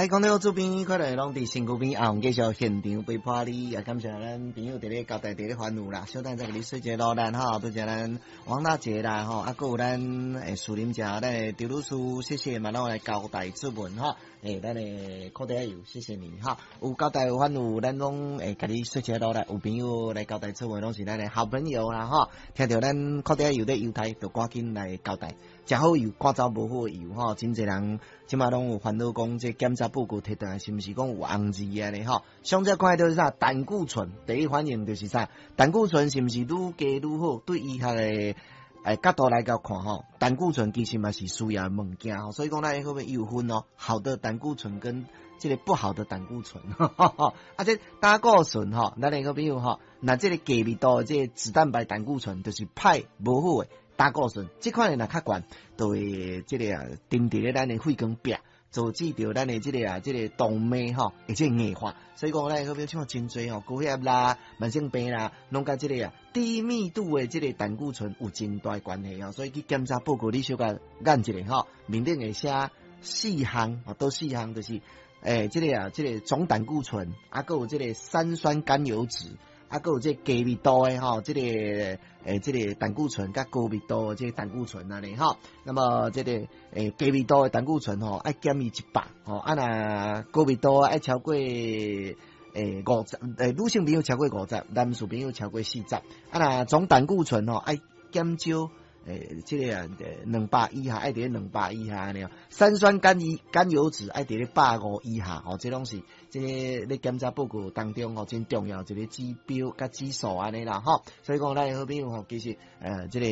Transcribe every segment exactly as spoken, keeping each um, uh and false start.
來講到這邊，看來攏佇身軀邊，阿紅繼續現場陪伴你，也感謝咱朋友佇咧交代，佇咧煩惱啦。小等再共你說一个努力吼，多謝咱王大姐啦吼，啊，閣有咱誒樹林者，咱的張女士，謝謝嘛，攏來交代質問吼。欸，咱的苦茶油，謝謝你哈。有交代有煩惱，咱攏會共你說一个努力。有朋友來交代質問，攏是咱的好朋友啦吼。聽著咱苦茶油咧猶太，就趕緊來交代。食好油，趕走無好油吼。真濟人這馬攏有煩惱，講這檢查報告提轉來，是毋是講有紅字按呢吼？上才看著是啥？膽固醇，第一反應就是啥？膽固醇是毋是愈低愈好？對醫學的欸角度來共看吼，膽固醇其實嘛是需要的物件吼，所以講咱後面有分哦，好的膽固醇跟這个不好的膽固醇，啊，這膽固醇吼，咱的好朋友吼，若這个低密度的這个脂蛋白膽固醇，就是歹無好的膽固醇，這款的若較懸，就會這个啊，沉佇咧咱的血管壁，導致著咱的這个啊，這个動脈吼，會這個硬化。所以講咱的好朋友像真濟吼，高血壓啦、慢性病啦，攏佮這个啊低密度的這个膽固醇有真大關係吼。所以去檢查報告，你小可研一下吼，面頂會寫四項，哦，佗四項就是，欸，這个啊，這个總膽固醇，啊，閣有這个三酸甘油酯，啊，閣有這個低密度的吼，這個欸，這個膽固醇佮高密度的這個膽固醇按呢吼。那麼這個欸低密度的膽固醇吼，愛減伊一百吼，啊若高密度愛超過欸五十，欸女性朋友超過五十，男士朋友超過四十。啊若總膽固醇吼愛減少。欸，這个啊，兩百以下，愛佇咧兩百以下按呢。三酸甘油甘油酯愛佇咧百五以下，吼，這攏是這个咧檢查報告當中吼，真重要一个指標佮指數按呢啦，吼。所以講咱的好朋友吼，其實呃，這个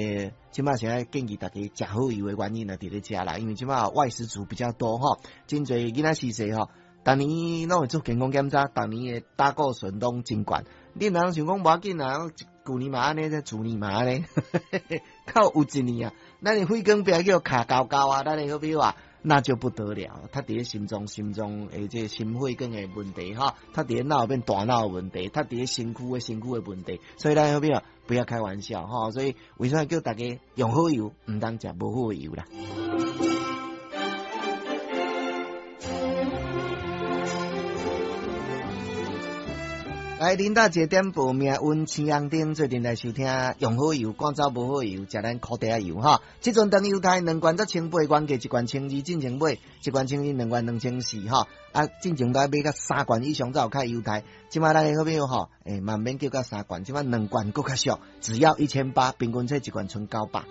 這馬是愛建議大家食好油的原因呢，佇咧遮啦，因為這馬外食族比較多吼，真濟囡仔時細吼，逐年攏會做健康檢查，逐年的膽固醇攏真懸。你若想講無要緊啊，舊年嘛按呢，這去年嘛按呢，到有一年啊，咱的血管壁叫卡厚厚啊，咱的好朋友啊，那就不得了，他佇咧心臟、心臟的這個心血管的問題哈，他佇咧腦變大腦的問題，他佇咧身軀的身軀的問題，所以咱好朋友不要開玩笑哈，所以為啥叫大家用好油，毋通食無好的油啦。來，林大姐點播命運青紅燈，做陣來收聽用好油，趕走無好油，食咱苦茶油哈。這陣當猶太兩罐才千八，原價一罐千二，進前買一罐千二，兩罐兩千四哈。啊，進前都愛買到三罐以上才有較優待。這馬咱的好朋友吼，欸，嘛毋免叫到三罐，這馬兩罐閣較俗，只要一千八，平均這一罐賰九百。